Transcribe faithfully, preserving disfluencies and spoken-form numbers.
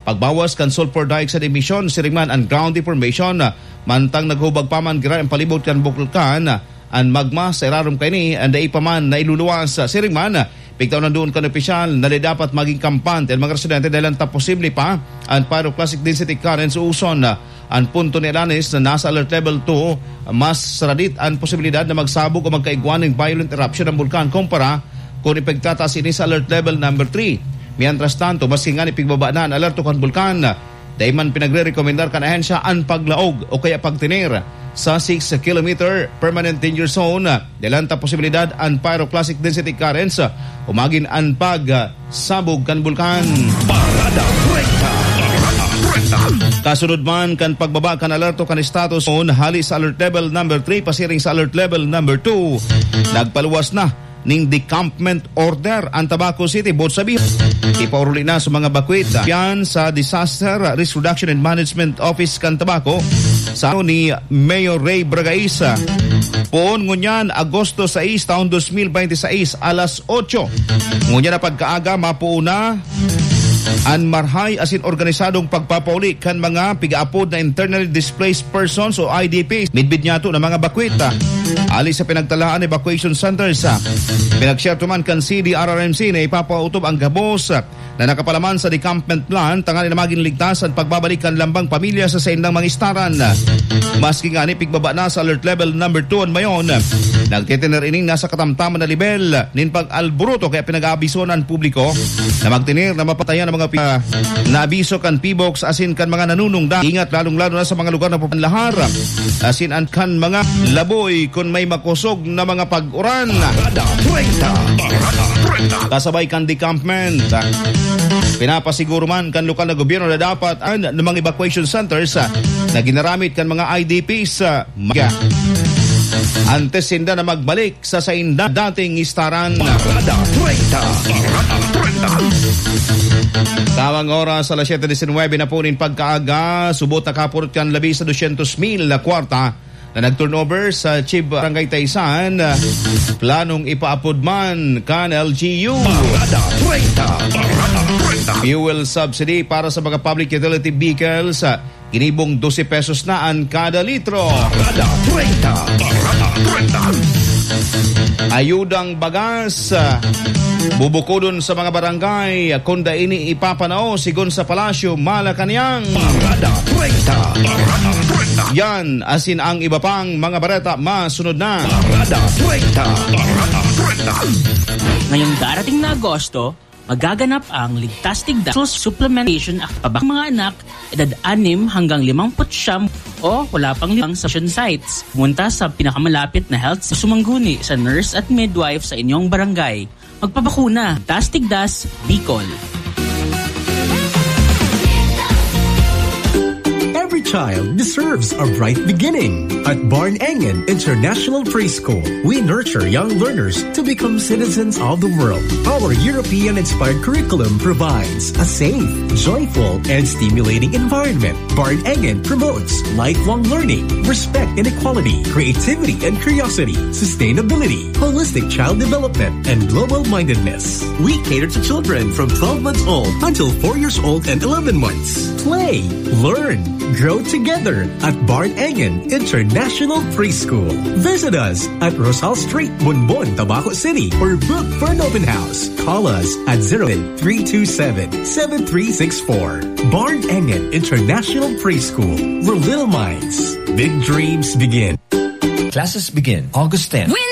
pagbawas kan sulfur dioxide emission, siring man an ground deformation, mantang naghubag pa man giraray an palibot kan bulkan, an magma sa irarom kaini, an dai pa man nailuluwas. Siring man, pigtaw na doon kan opisyal na dai dapat maging kampante an mga residente dahil ta posible pa an pyroclastic density currents o uson. An punto ni Alanis na nasa alert level two, mas saradit an posibilidad na magsabog o magkaigwa nin violent eruption ang bulkan kumpara kun ipagtataas ini sa alert level number three. Mientras tanto, maski ngani pigbaba na an alerto kan bulkan, dai man pinagrerekomendar kan ahensya an paglaog o kaya pagtener sa six kilometer permanent danger zone. Dahil ta posibilidad an pyroclastic density currents o magin an pag, ah, sabog kan bulkan. Parada treinta. Parada treinta. Kasunod man kan pagbaba kan alerto kan status on hali sa alert level number three pasiring sa alert level number two, nagpaluwas na ning decampment order ang Tabaco City, boot sabihin, ipauruli na sa mga bakwit. Yan sa Disaster Risk Reduction and Management Office kan Tabaco, sa ni Mayor Ray Bragaisa. Poon ngunyan, Agosto sais, taon dos mil bente sais, alas otso. Ngunyan na pagkaaga, mapuon na an marhay asin organisadong pagpapauli kan mga pigaapod na internally displaced persons o I D Ps. Midbid niyato na mga bakwit, ah, ali sa pinagtalaan evacuation centers, ah. Pinagsyerto man kan C D R R M C na ipapautob ang gabos, ah, na nakapalaman sa decampment plan, tanganing na magin ligtas an pagbabalik kan lambang pamilya sa saindang mga istaran. Maski ngani pigbaba na sa alert level number two an Mayon, nagtitener ining nasa katamtaman na lebel nin pag-alboroto, kaya pinag-aabiso an publiko na magtener na mapatayan ang mga pi-, na abiso kan P B O X asin kan mga nanunungdan. Ingat lalong-lalo na sa mga lugar na papanlahar asin an kan mga laboy kun may makosog na mga pag-uran. Parada treinta. Parada treinta. Kasabay kan decampment, ah, pinapasiguro man kan lokal na gobyerno na dapat an mga evacuation centers, ah, na ginaramit kan mga I D Ps, ah, mag-, antes sinda na magbalik sa sainda dating istaran. Parada treinta. Parada treinta. Tamang oras, alas siyete disinwebe na po nin pagkaaga, subot nakapurot kan labi sa dosyentos mil na kwarta na nag-turnover sa Chief Barangay Taysan, planong ipaapod man kan L G U. Parada treinta. Parada treinta. Fuel subsidy para sa mga public utility vehicles, ginibong dose pesos na an kada litro. Parada treinta. Parada treinta. Ayudang bagas, ah, bubukodon sa mga barangay, kunda ini ipapanao sigon sa Palasyo, Malacañang. Parada treinta. Parada treinta. Yan, asin ang iba pang mga bareta masunod na. Parada treinta. Parada treinta. Ngayong darating na Agosto, magaganap ang Ligtas Tigdas Supplementation Act. Pabak mga anak, edad anim hanggang limampu't siyam o wala pang limang sa abortion sites. Pumunta sa pinakamalapit na health sa sumangguni sa nurse at midwife sa inyong barangay. Magpabakuna. Ligtas Tigdas, Bicol. Every child deserves a bright beginning. At Barn Engen International Preschool, we nurture young learners to become citizens of the world. Our European-inspired curriculum provides a safe, joyful, and stimulating environment. Barn Engen promotes lifelong learning, respect and equality, creativity and curiosity, sustainability, holistic child development, and global mindedness. We cater to children from twelve months old until four years old and eleven months. Play, learn, grow together at Barn Engen International Preschool. Visit us at Rosal Street, Bonbon, Tabaco City, or book for an open house. Call us at zero three two seven, seven three six four. Barn Engen International Preschool, where little minds, big dreams begin. Classes begin August ten. Win